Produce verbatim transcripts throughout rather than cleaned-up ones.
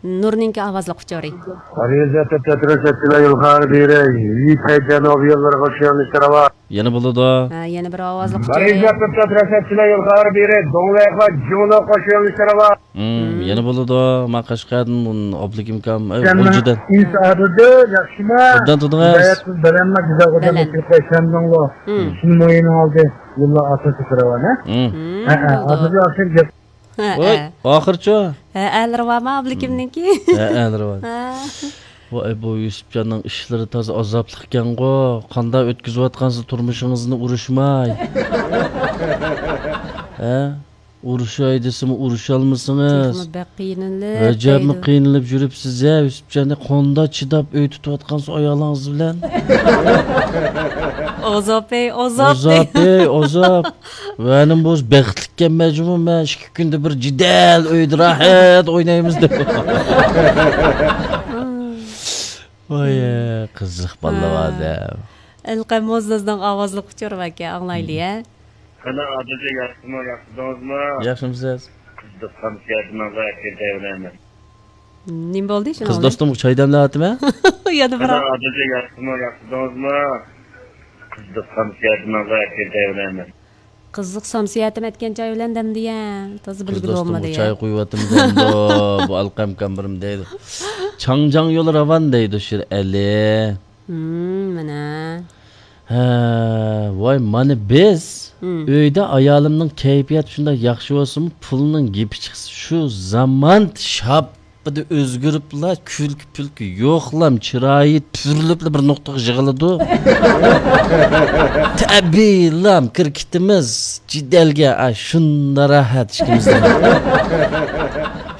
نۇرنىڭكى ئاۋازلىق ئۇچۇرى. مارىزا تۆتىدە تۇرۇش ئەتچىلە يول خەۋەر بېرە، يىپەي جەنۇب يوللىرىغا چۈشۈرۈلۈشتە راۋا. يەنە بولىدۇ. ھە، يەنە بىر ئاۋازلىق ئۇچۇرى. مارىزا تۆتىدە تۇرۇش ئەتچىلە يول خەۋەر بېرە، دوڭلەيخا جۇڭلۇققا چۈشۈرۈلۈشتە راۋا. مم، يەنە بولىدۇ. ما قەشقەردىن ئۇن ئابلىكىمكام، ئەي، ئۇجىدىن. ئىنسا ئادىدۇ، ياخشىما؟ ئوبدان تۇردىڭىز؟ بەلەنما گۈزەل خوجام بەلەن. ئېچىپ قويسامدىڭلو. مم. شۇنى مويىنىڭ ئالدى. يوللار ئاساسى كىرىۋەنە. مم. مم، ھە، ھە، بولدى. ئادىدى ئاخىر گەپ. ھە، ۋاي، ھە. ئاخىرچۇ؟ ھە، ئەلىرى بارمۇ ئابلىكىمنىڭكى؟ ھە، ئەلىرى بار. ھە. ۋاي، بۇ يۈسۈپجاننىڭ ئىشلىرى تازا ئازابلىقكەنغۇ. قانداق ئۆتكۈزۈۋاتقانسىز تۇرمۇشىڭىزنى ئۇرۇشماي؟ ھە؟ ئۇرۇشاي دېسىمۇ ئۇرۇشالمىسىڭىز. تېخىمۇ بەك قىينىلىپ ئەجەبمۇ دەيدۇ. قىينىلىپ يۈرۈپسىز-ھە، يۈسۈپجان. قانداق چىداپ ئۆي تۇتۇۋاتقانسىز ئايالىڭىز بىلەن؟ ئازاب-ئەي، ئازاب. ئازاب-ئەي، ئازاب. ۋەنىم بولسا بەختلىككەنمەن جۇمۇ، مەن ئىككى كۈندە بىر جېدەل ئۆيدە راھەت ئوينايمىز دەپ. ۋاي، قىزىق بالىلار ھە. ئادەم. ئەلقەم موزدازنىڭ ئاۋازلىق ئۇچۇرى باركەن، ئاڭلايلى، ھە. قېنى، ئادىلجا ياخشىمۇ، ياخشى تۇردىڭىزمۇ؟ ياخشىمۇسىز؟ قىزىق خامسىيەتىمىزغا ئەكىر دەيمەن. نېمە بولدى شۇنىڭ قىز بىلەن؟ دوستۇم چاي دەملەۋاتىمەن. يەنە بىر قېنى، ئادىلجا ياخشىمۇ، ياخشى تۇردىڭىزمۇ؟ قىزىق خامسىيەتىمىزغا ئەكىر دەيمەن. قىزىق سامسىيەتىم ئەتكەن چاي بىلەن دەمدىيە. تازا قىز بىلگىلى دوستۇم بولمىدى يا. چاي قۇيۇۋاتىمەن دەمدۇ. بۇ ئەلقەمكام بىرىم دەيدۇ. چاڭجاڭ يولى راۋان دەيدۇ شىرئەلى. ھىم، مانا. ھە، ۋاي، مانا بىز مم. ئۆيدە ئايالىمنىڭ كەيپىياتى شۇنداق ياخشى بولسىمۇ، پۇلنىڭ گېپى چىقسا، شۇ زامان شاپپىدە ئۆزگىرىپلا، كۈلكە-پۈلكە يوقلام، چىرايى تۈرۈلۈپلا بىر نۇقتىغا يىغىلىدۇ. تەبىئىيلام كىركىتىمىز جېدەلگە، ئا، شۇنداق راھەت ئىككىمىزدىن.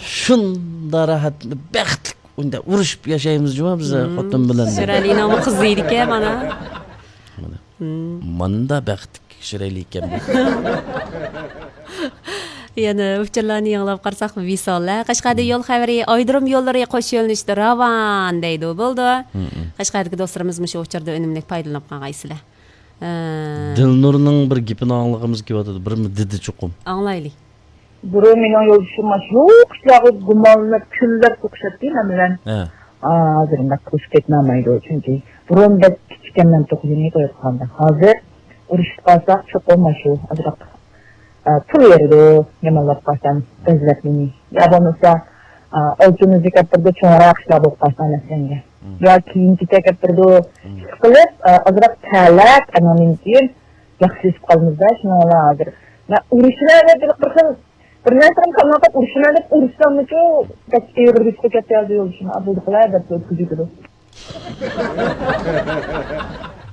شۇنداق راھەت، بەختلىك ئۇنداق ئۇرۇشۇپ ياشايمىز جۇما بىز مم. خوتۇن بىلەن. شىرئەلىنىڭمۇ قىزى ئىدىكەن مانا. مانا. مم. ماندا بەختلىك شىرئەلى ئىكەن بۇ. يەنە ئۇچۇرلارنى يېڭىلاپ قارىساق، ۋىسال، ھە؟ قەشقەردە مم. يول خەۋىرى، ئايرىم يوللىرى قوش يۆنىلىشتە راۋان دەيدۇ. بولدى. مم. قەشقەردىكى دوستلىرىمىزمۇ شۇ ئۇچۇردا ئۈنۈملۈك پايدىلىنىپ قالغايسىلەر. ھە. دىلنۇرنىڭ بىر گېپىنى ئاڭلىغۇمىز كېلىۋاتىدۇ. بىر دېدى چوقۇم. ئاڭلايلى. بۇرۇن مېنىڭ يولدىشىم ماشۇ ئىشلارغا گۇمانلىنىپ، كۈنلەپ سوقۇشاتتى مەن بىلەن. ھە. ئا، ھازىر ئۇنداق قىلىشقا كەتمەيدۇ، چۈنكى بۇرۇن بەك كىچىككەنمەن توققۇزىنچى تويغا چىققاندا. ھازىر ئۇرۇشۇپ قالساق، چوقۇم ماشۇ ئازراق، ئا، پۇل بېرىدۇ، يامانلاپ قالسام، بەزلەپ مېنى. يا بولمىسا، ئا، ئالتۇن ئۈزۈك ئەپ بېرىدۇ، چوڭراق ئىشلار بولۇپ قالسا مەسىلەنگە. مم. يا كىيىم-كېچەك ئەپ بېرىدۇ، مم. ئىشقىلىپ، ئا، ئازراق تەلەپ، ئانىڭدىن كېيىن ياخشىلىشىپ قالىمىز-دە، شۇنىڭ بىلەن ھازىر. مەن ئۇرۇشىمەن دەپ بىر خىل بىر نەرسىنى تاللاپ ئۇرۇشىمەن دەپ ئۇرۇشساممۇچۇ، بەك ئېغىر يۈككە كەتتى ھازىر يولدىشىم. ئا، بولدى قىلاي دەپ ئۆتكۈزۈۋېتىدۇ.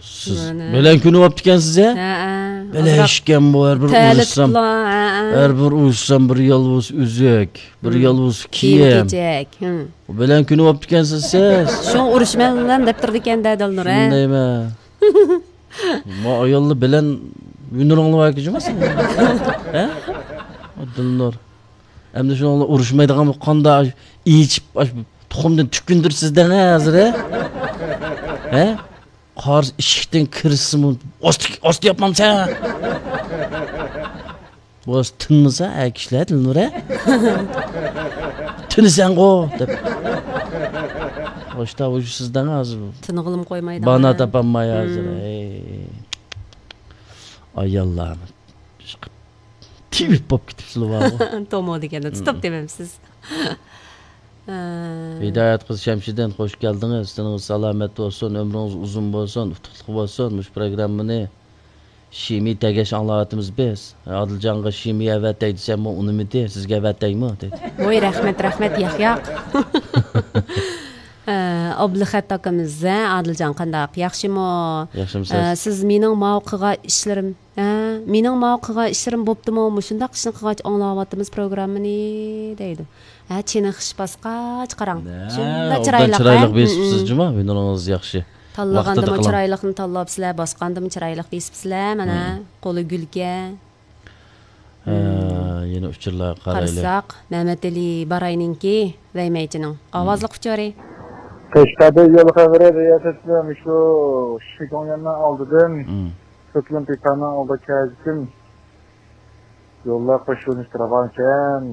سىز مانا. بەلەن كۈنى بوپتىكەنسىز ھە؟ ھەئە. بەلەن ئىشكەن بۇ ھەر بىر ئۇرۇشسام. ھەئە. ھەر بىر ئۇرۇشسام بىر يالۋۇز ئۈزۈك، بىر يالۋۇز كىيىم. كىيىم-كېچەك. ھىم. بەلەن كۈنى بوپتىكەنسىز سىز. شۇڭا ئۇرۇشىمەن دەپ تۇرىدىكەن-دە دىلنۇر ھە؟ شۇندايمەن. ما ئاياللار بىلەن ھۈنىرىڭلار باركى جۇما سېنىڭ؟ ھە؟ دىلنۇر. ئەمدى شۇنىڭ بىلەن ئۇرۇشمايدىغان بولۇپ قاندا ئېچىپ، ئاش تۇخۇمدىن تۈكۈندۈرسىز دەڭە ھازىر، ھە؟ ھە؟ قارىسا ئىشىكتىن كىرسىمۇ، ئاستى، ئاستى ياپمامسەن؟ بولسا تىنمىسا، ئە، كىشىلەر تىنىدۇ، ھە؟ تىنىسەنغۇ دەپ. ئاشتا ئۇشسىز دەڭ ھازىر. تىنغىلىمۇ قويمايدۇ. بانا تاپالماي ھازىر. ھىم. ئەي. ئاياللار. تېۋىپ بولۇپ كېتىپسىلە بارغۇ. تومۇ دېگەندە تۇتۇپ دېمەمسىز. ھىدايەت قىز شەمشىدىن، خوش كەلدىڭىز. تېنىڭىز سالامەت بولسۇن، ئۆمرىڭىز ئۇزۇن بولسۇن، ئۇتۇقلۇق بولسۇن. مۇشۇ پروگراممىنى شىمى تەگەش ئاڭلاۋاتىمىز بىز. ئادىلجانغا شىمى ئەۋەتەي دېسەممۇ ئۇنىمىدى. سىزگە ئەۋەتەيمۇ دېدى. ۋوي، رەھمەت، رەھمەت، ياق، ياق. ئە، ئابلىخەت ئاكىمىز، ھە، ئادىلجان قانداق؟ ياخشىمۇ؟ ياخشىمۇسىز؟ ئە، سىز مېنىڭ ماۋۇ قىلغان ئىشلىرىم، ھە، مېنىڭ ماۋۇ قىلغان ئىشلىرىم بوپتىمۇ؟ مۇشۇنداق ئىشنى قىلغاچ ئاڭلاۋاتىمىز پروگراممىنى دەيدۇ. ھە، چېنىقىش باسقاچ قاراڭ. نە، شۇنداق ئوبدان چىرايلىق، چىرايلىق ھە؟ بېسىپسىز جۇما، ھۈنىرىڭىز ياخشى. تاللىغاندىمۇ چىرايلىقنى تاللاپسىلەر، باسقاندىمۇ چىرايلىق بېسىپسىلەر، مانا، قولى گۈلكە. ھە، يەنە ئۇچۇرلارغا قارايلى. قارىساق، مەمەتئېلى باراينىڭكى، ۋەيمەيچىنىڭ ئاۋازلىق ئۇچۇرى. قەشقەردە يول خەۋىرى رىياسەتچىلىرى مۇشۇ شىگوڭيەننىڭ ئالدىدىن، سېتلىن پىكاننىڭ ئالدىغا كەلگۈچىم يوللار قوشۇلۇشتا راۋانكەن.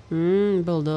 ھىم، بولدى.